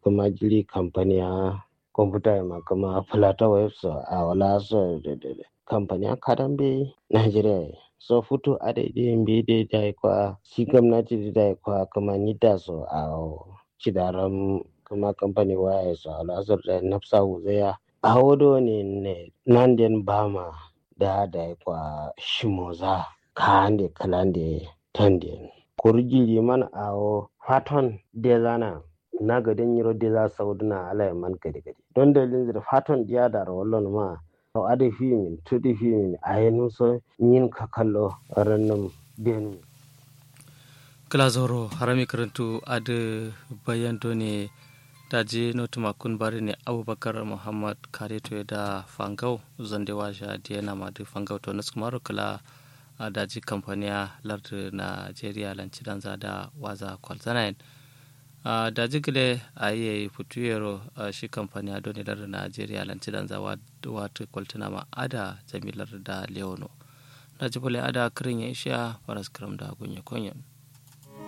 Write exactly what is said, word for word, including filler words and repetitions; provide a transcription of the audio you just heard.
Kǝma jiri kampaniya komputa ye ma kǝma fǝlata wayef so awo la so. Kampaniya kadan mbeyi najeriya ye so futu adai dai mbeyi dai dai kwa shi gomnati dai dai kwa kǝma nidda so awo cidaram kǝma kampani waya ye so awo la so dai nafsa wuzaiya. Awo done ne nanden bama da dai kwa shimoza ka'ande kǝlande tanden kuru jiriman awo faton dezana. Na gade nyiro deza sauduna alaye man gade gade don dalilin zǝ dǝ faton diya daro wallo nǝma. Awo adǝ fimin tudǝ fimin ayenum so nyin kakallo rannum denum. Kǝla zauro harami kǝrǝntu adǝ bayan done. Daji notuma kun bari ne abubakar muhammad kareto ye da fangau. Zonde washa diye nama dǝ fangau to nuskǝmaro kǝla. Daji kampaniya lardǝ najeriya lan cidanza da waza kwalzanayen. Daji gǝle ayi yayi futu yero. Shi kampaniya done lardǝ najeriya lan cidanza watǝ kwaltǝnama ada jami lardǝ da lewono. Daji bule ada kǝrin ye ishiya faras kǝram da gonye konyen.